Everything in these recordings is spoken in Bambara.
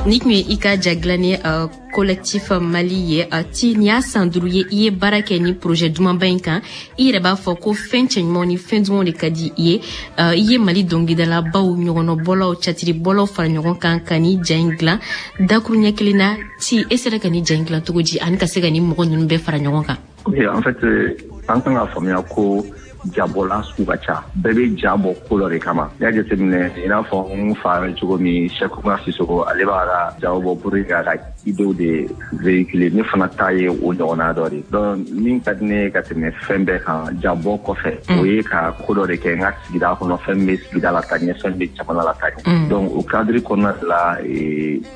Ni tun ye i ka ja dilannen Collectif Mali ye. Ti, nin y'a san 5 ye i ye baara kɛ ni projet dumanba in kan. I yɛrɛ b'a fɔ ko fɛn cɛɲumanw ni fɛn dumanw de ka di i ye. I ye Mali dɔnkilidalabaw, ɲɔgɔnɔbɔlaw, catiribɔlaw fara ɲɔgɔn kan ka ni ja in dilan dakuruɲɛ kelen na. Ti, e sera ka ni ja in dilan cogo di ani ka se ka ni mɔgɔ ninnu bɛɛ fara ɲɔgɔn kan? Ok, en fait, an kan ka faamuya ko jabɔla sugu ka ca. Bɛɛ bɛ ja bɔ ko dɔ de kama. N'i y'a jateminɛ, i n'a fɔ n fa bɛ cogo min, Cheikh Oumar Sissoko, ale b'a ka jaw bɔ pour que k'a ka idéew de véhiculer. Ne fana ta ye o ɲɔgɔnna dɔ de. Donc min ka di ne ye ka tɛmɛ fɛn bɛɛ kan jabɔ kɔfɛ, o ye ka ko dɔ de kɛ n ka sigida kɔnɔ, fɛn min bɛ sigida la ka ɲɛ, fɛn bɛ jamana la ka ɲɛ. Donc o cadre kɔnɔna de la,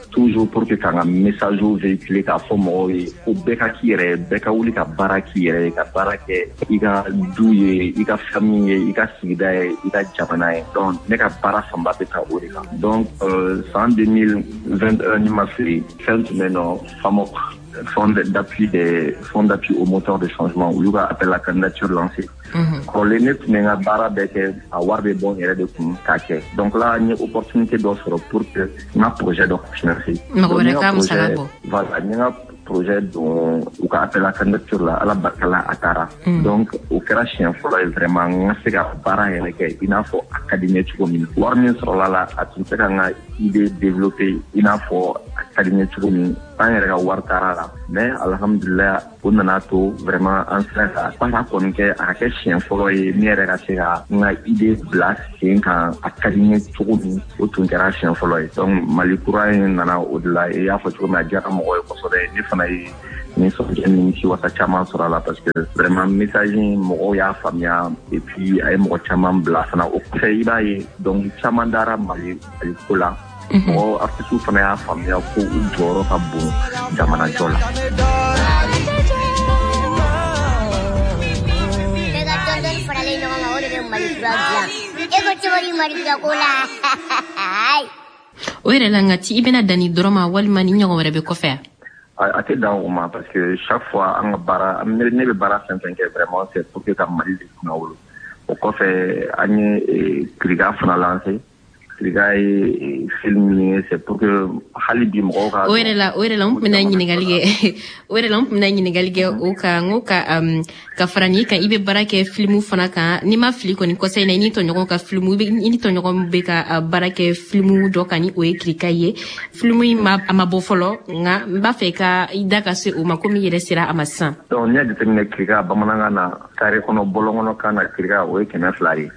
toujours pour que k'an ka message véhiculer, k'a fɔ mɔgɔw ye ko bɛɛ ka k'i yɛrɛ ye, bɛɛ ka wuli ka baara k'i yɛrɛ ye, ka baara kɛ i ka du ye, i ka famille ye, i ka sigida ye, i ka jamana ye. Donc ne ka baara fanba bɛ taa o de kan. Donc san 2021, ni ma fili, fɛn tun bɛ yen nɔ, FAMOC, Fonds d'appui au moteur de changement, olu ka appel à candidature lancé. Kɔrɔlen ne tun bɛ n ka baara bɛɛ kɛ, a wari bɛ bɔ n yɛrɛ de kun k'a kɛ. Donc là, n ye opportunité dɔ sɔrɔ pour que n ka projet dɔ financer. Mɔgɔ wɛrɛ ka musaka bɔ. Voilà, n ye n ka projet don u ka appel à candidature la, Ala barika la, a taara. Donc o kɛra siɲɛ fɔlɔ ye vraiment n ka se ka baara yɛrɛ kɛ i n'a fɔ a ka di n ye cogo min. Wari min sɔrɔla la, a tun tɛ ka n ka idée développer i n'a fɔ a ka di n ye cogo min. An yɛrɛ ka wari taara la, mais alhamdulilah, o nana to vraiment an sera ka baara kɔni kɛ. A ka kɛ siɲɛ fɔlɔ ye ne yɛrɛ ka se ka n ka idée bila sen kan a ka di n ye cogo min, o tun kɛra siɲɛ fɔlɔ ye. Donc Mali kura in nana o de la. I y'a fɔ cogo min, a diyara mɔgɔ ye kosɛbɛ. Ne fana ye nisɔndiya ni wasa caman sɔrɔ a la, parce que vraiment message in, mɔgɔw y'a faamuya et puis a ye mɔgɔ caman bila fana. O kɔfɛ, i b'a ye dɔnkili caman dara Mali ko la. Mɔgɔ artiste fana y'a faamuya ko u jɔyɔrɔ ka bon jamanajɔ la. Bɛɛ ka dɔɔni faralen ɲɔgɔn kan, o de bɛ Mali kura dilan. E ko cogo di Mali kura ko la? O yɛrɛ la, nka Ti, i bɛna dan ni dɔrɔn ma walima ni ɲɔgɔn wɛrɛ bɛ kɔfɛ? A tɛ dan o ma, parce que chaque fois an ka baara, ne bɛ baara fɛn fɛn kɛ, vraiment c'est pour que ka Mali de kunnawolo. O kɔfɛ, an ye Kiriga fana lancé. Kiriga ye film ye, c'est pour que hali bi mɔgɔw ka O yɛrɛ la, n tun bɛna ɲininkali kɛ. O yɛrɛ la, n tun bɛna ɲininkali kɛ o kan. N ko ka fara nin kan, i bɛ baara kɛ filimu fana kan. N'i ma fili kɔni, kɔsa in na, i ni tɔɲɔgɔn ka filimu, i ni tɔɲɔgɔn bɛ ka baara kɛ filimu dɔ kan, ni o ye Kirika ye. Filimu in ma, a ma bɔ fɔlɔ, nka n b'a fɛ ka i da ka se o ma, komi i yɛrɛ sera a ma sisan. Donc n'i y'a jateminɛ, Kirika bamanankan na, carré kɔnɔ, bɔlɔn kɔnɔ kan na, Kirika o ye 200 ye.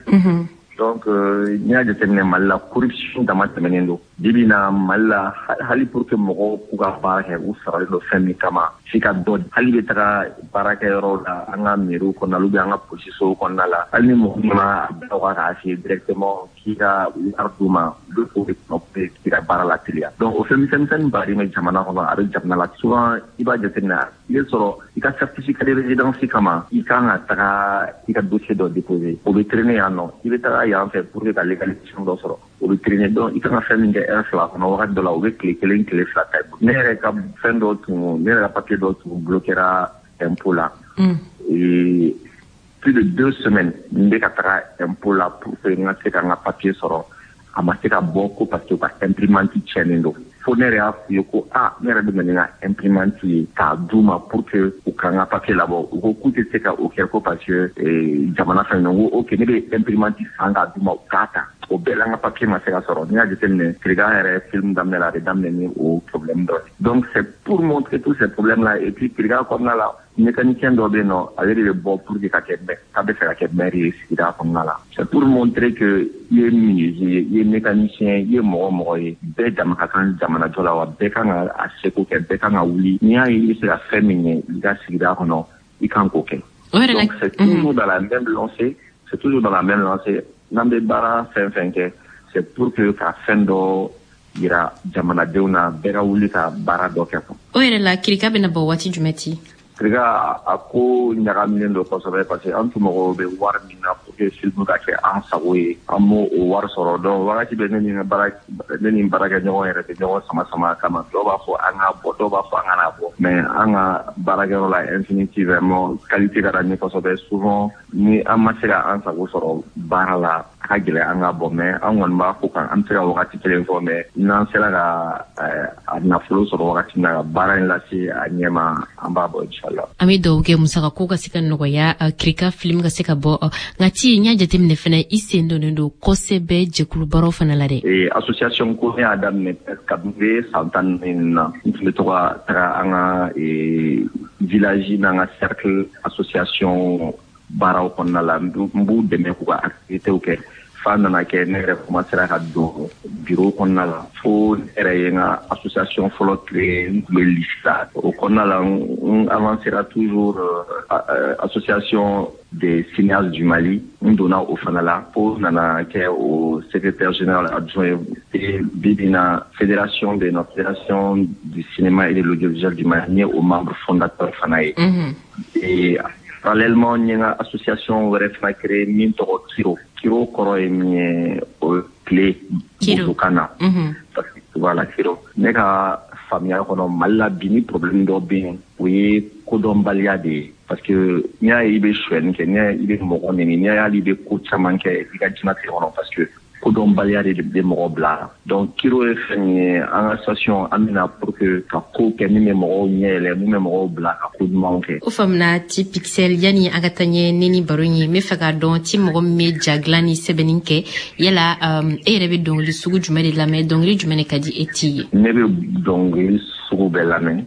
Donc n'i y'a jateminɛ, Mali la, corruption dama tɛmɛnen don. Bibi na, Mali la, hali pour que mɔgɔw k'u ka baara kɛ, u saralen don fɛn min kama, f'i ka dɔ. Hali bɛ taga baarakɛyɔrɔw la, an ka mairie kɔnɔna la ou bien an ka polisisow kɔnɔna la, hali ni mɔgɔ nana a bila u kan k'a f'i ye directement k'i ka wari d'u ma, u bɛ k'o de kɔnɔ pour k'i ka baara la teliya. Donc o fɛn misɛnnin baden bɛ jamana kɔnɔ, a bɛ jamana la. Souvent i b'a jateminɛ, i bɛ sɔrɔ i ka certificat de résidence kama, i kan ka taga i ka dossier dɔ déposer, o bɛ traîner yan nɔ. I bɛ taga yan fɛ pour que ka légalisation dɔ sɔrɔ, o bɛ traîner. Donc i kan ka fɛn min kɛ heure 2 kɔnɔ, wagati dɔ la o bɛ tile 1, tile 2 ta. Ne yɛrɛ ka fɛn dɔ tun, ne yɛrɛ ka papier dɔ tun bloquera impôt la. Et plus de 2 semaines n bɛ ka taga impôt la pour que n ka se ka n ka papier sɔrɔ, a ma se ka bɔ ko parce que u ka imprimante tiɲɛnen don. Fo ne yɛrɛ y'a f'u ye ko a ne yɛrɛ bɛ na ni n ka imprimante ye k'a d'u ma pour que u ka n ka papier labɔ. U ko k'u tɛ se ka o kɛ ko parce que jamana fɛn. N ko ok, ne bɛ imprimante san k'a d'u ma, u k'a ta. O bɛɛ la, n ka papier ma se ka sɔrɔ. N'i y'a jateminɛ, Kirikan yɛrɛ film daminɛ la, a bɛ daminɛ ni o problème dɔ ye. Donc c'est pour montrer tous ces problèmes là. Et puis Kirikan kɔnɔna la, mécanicien dɔ bɛ yen nɔ, ale de bɛ bɔ pour que ka kɛ, k'a bɛ fɛ ka kɛ maire ye sigida kɔnɔna la. C'est pour montrer que i ye menuisier ye, i ye mécanicien, i ye mɔgɔ mɔgɔ ye, bɛɛ dama ka kan jamanajɔ la wa. Bɛɛ kan ka a seko kɛ, bɛɛ kan ka wuli. N'i y'a ye i bɛ se ka fɛn min ɲɛ i ka sigida kɔnɔ, i kan k'o kɛ. Donc c'est toujours dans la même lancée, c'est toujours dans la même lancée. N'an bɛ baara fɛn fɛn kɛ, c'est pour que ka fɛn dɔ yira jamanadenw na, bɛɛ ka wuli ka baara dɔ kɛ. O yɛrɛ la, Kirika bɛna bɔ waati jumɛn, Ti? Kirika, a ko ɲagaminen don kosɛbɛ, parce que an tun mago bɛ wari min na pour que que film ka kɛ an sago ye, an b'o o wari sɔrɔ. Donc wagati bɛ, ne ni baarakɛɲɔgɔn yɛrɛ bɛ ɲɔgɔn sama sama a kama. Dɔw b'a fɔ an k'a bɔ, dɔw b'a fɔ an kana bɔ, mais an ka baarakɛyɔrɔ la, Infinity, vraiment qualité ka d'an ye kosɛbɛ. Souvent ni an ma se ka an sago sɔrɔ baara la, a ka gɛlɛn an ka bɔ, mais an kɔni b'a fɔ kan an bɛ se ka wagati kelen fɔ, mais n'an sera ka a nafolo sɔrɔ wagati min na ka baara in lase a ɲɛma, an b'a bɔ, inshallah. An bɛ dugawu kɛ musakako ka se ka nɔgɔya, Kirika film ka se ka bɔ. Nka ti n y'a jateminɛ fɛnɛ, i sen donnen don kosɛbɛ jɛkulu baaraw fana la dɛ. Association ko, ne y'a daminɛ kabini bɛ san 14 na. N tun bɛ to ka taga an ka village n'an ka cercle association baaraw kɔnɔna la, n b'u dɛmɛ k'u ka activités kɛ, f'a nana kɛ ne yɛrɛ commencera ka don bureau kɔnɔna la, fo ne yɛrɛ ye n ka association fɔlɔ créé. N tun bɛ lycée la, o kɔnɔna la n avancera toujours, association des cinéastes du Mali, n donna o fana la, fo nana kɛ o secrétaire général adjoint ye. Bi bi na, fédération bɛ yen nɔ, fédération du cinéma et de l'audiovisuel du Mali, n ye o membre fondateur fana ye. Et parallèlement, n ye n ka association wɛrɛ fana créé min tɔgɔ Kiro. Kiro kɔrɔ ye min ye, o ye tile bozokan na. Voilà, Kiro. Ne ka faamuya kɔnɔ, Mali la bi, ni problème dɔ bɛ yen, o ye kodɔnbaliya de ye, parce que n'i y'a ye i bɛ sonyɛni kɛ, n'i y'a ye i bɛ mɔgɔ nɛni, n'i y'a ye hali i bɛ ko caman kɛ i ka diɲɛlatigɛ kɔnɔ, parce que kodɔnbaliya de bɛ mɔgɔ bila la. Donc Kiro ye fɛn min ye, an ka association, an bɛna pour que ka ko kɛ min bɛ mɔgɔw ɲɛ yɛlɛ, min bɛ mɔgɔw bila ka ko ɲumanw kɛ. O faamuna. Ti Pixel, yani an ka taa ɲɛ ne ni baro ye, n bɛ fɛ k'a dɔn, ti mɔgɔ min bɛ ja dilan ni sɛbɛnni kɛ, yala e yɛrɛ bɛ dɔnkili sugu jumɛn de lamɛn? Dɔnkili jumɛn de ka di e ti ye? Ne bɛ dɔnkili sugu bɛɛ lamɛn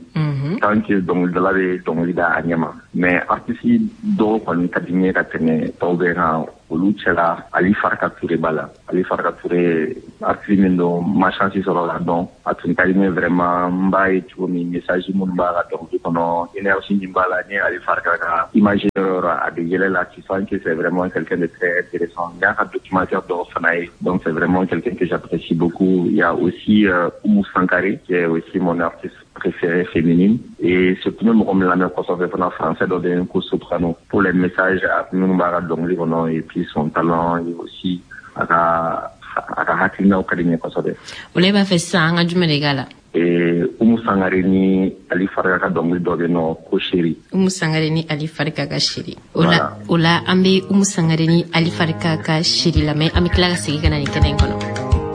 tant que dɔnkilidala bɛ dɔnkili da a ɲɛma, mais artiste dɔw kɔni ka di n ye ka tɛmɛ tɔw bɛɛ kan. Olu cɛla, Ali Farka Touré b'a la. Ali Farka Touré, artiste min don, ma chance sɔrɔ la dɔn, a tun ka di ne vraiment. N b'a ye cogo min, message minnu b'a ka dɔnkili kɔnɔ, énergie min b'a la, ni Ali Farka ka image yɔrɔ yɔrɔ, a bɛ yɛlɛ la, tu sens que c'est vraiment quelqu'un de très intéressant. N y'a ka documentaire dɔw fana ye, donc c'est vraiment quelqu'un que j'apprécie beaucoup. Il y a aussi Oumou Sangaré, qui est aussi mon artiste préférée féminine, et surtout mɔgɔ min lamɛn kosɛbɛ fana, français dɔ bɛ yen ko Soprano, pour les messages minnu b'a ka dɔnkili kɔnɔ et puis son talent et aussi a ka hakilinaw ka di n ye kosɛbɛ. O la, e b'a fɛ sisan an ka jumɛn de k'a la? Umu Sangare ni Ali Farika ka dɔnkili dɔ bɛ yen nɔ ko Chéri. Umu Sangare ni Ali Farika ka Chéri. O la, an bɛ Umu Sangare ni Ali Farika ka Chéri lamɛn, an bɛ tila ka segin ka na nin kɛnɛ in kɔnɔ.